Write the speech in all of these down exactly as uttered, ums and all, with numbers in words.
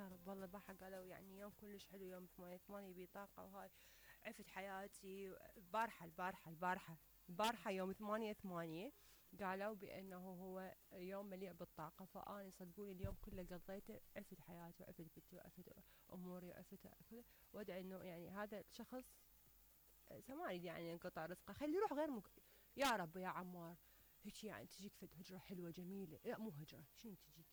يا رب والله البارحة قالوا يعني يوم كلش حلو، يوم ثمانية ثمانية يبي طاقة وهاي. عفت حياتي البارحة البارحة البارحة البارحة يوم ثمانية ثمانية قالوا بأنه هو يوم مليء بالطاقة، فأنا صدقوني اليوم كله قضيته عفت حياتي وعفت بيتي وعفت أموري وعفت كله، وأدعي إنه يعني هذا الشخص سماني يعني انقطع رزقه، خلي يروح غير مك... يا رب يا عمار هيك يعني تجيك فد هجرة حلوة جميلة، لا مو هجرة، شنو تجيك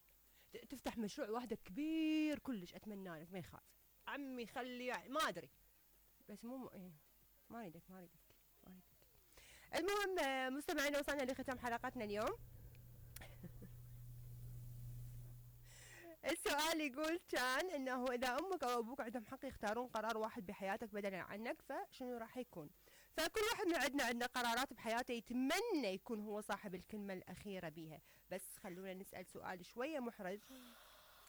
ت- تفتح مشروع وحدك كبير كلش، اتمنى لك ما يخاف عمي، خلي يعني ما ادري بس مو م... إيه، ما اريدك ما اريدك ما اريدك. المهم آه، مستمعينا وصلنا لختام حلقتنا اليوم. السؤال يقول كان انه اذا امك او ابوك عندهم حق يختارون قرار واحد بحياتك بدلا عنك فشنو راح يكون؟ فكل واحد من عندنا عندنا قرارات بحياته يتمنى يكون هو صاحب الكلمة الأخيرة بيها، بس خلونا نسأل سؤال شوية محرج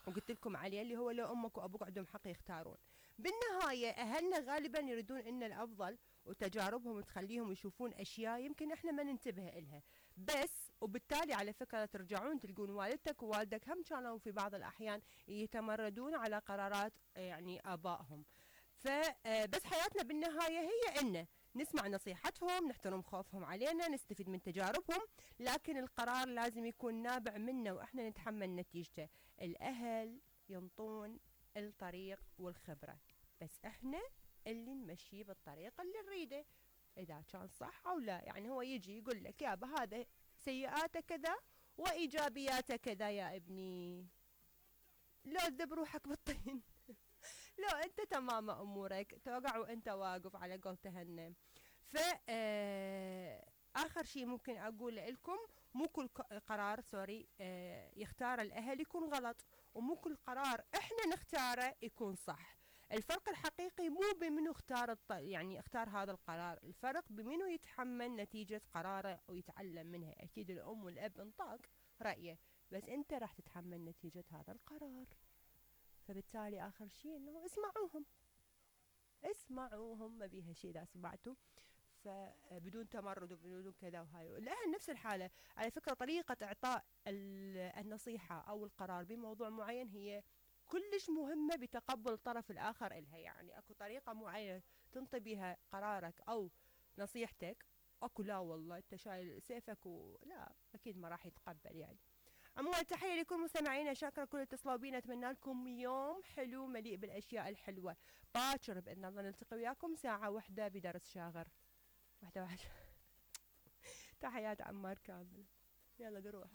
وقلت لكم عليه، اللي هو لو امك وابوك عندهم حق يختارون، بالنهايه اهلنا غالبا يريدون ان الافضل، وتجاربهم تخليهم يشوفون اشياء يمكن احنا ما ننتبه إلها، بس وبالتالي على فكره ترجعون تلقون والدتك ووالدك هم كانوا في بعض الاحيان يتمردون على قرارات يعني ابائهم. فبس حياتنا بالنهايه هي ان نسمع نصيحتهم، نحترم خوفهم علينا، نستفيد من تجاربهم، لكن القرار لازم يكون نابع منا واحنا نتحمل نتيجته. الاهل ينطون الطريق والخبرة، بس احنا اللي نمشيه بالطريق اللي نريده، اذا كان صح او لا. يعني هو يجي يقول لك يابا هذا سيئاته كذا وايجابياته كذا يا ابني، لا تذب روحك بالطين. لو انت تمام امورك توقع وانت واقف على قول تهنم. ف آه، اخر شيء ممكن اقول لكم، مو كل ق- قرار سوري آه، يختار الاهل يكون غلط، ومو كل قرار احنا نختاره يكون صح. الفرق الحقيقي مو بمنو اختار الط... يعني اختار هذا القرار، الفرق بمنو يتحمل نتيجة قراره ويتعلم منها. اكيد الام والاب انطاك رأيه، بس انت راح تتحمل نتيجة هذا القرار. فبالتالي اخر شيء انه اسمعوهم، اسمعوهم ما بيها شيء اذا سمعتوا، فبدون تمرد وبدون كذا وهاي. الاهل نفس الحاله على فكره، طريقه اعطاء ال- النصيحه او القرار بموضوع معين هي كلش مهمه بتقبل الطرف الاخر الها. يعني اكو طريقه معينه تنطي بها قرارك او نصيحتك، اكو لا والله انت شايل سيفك ولا اكيد ما راح يتقبل يعني. عموما تحية لكل مستمعينا، شاكرة كل اتصلوا بينا، اتمنى لكم يوم حلو مليء بالاشياء الحلوة. باكر باذن الله نلتقي وياكم ساعة واحدة بدرس شاغر. واحدة واحدة. تحيات عمار كامل. يلا نروح.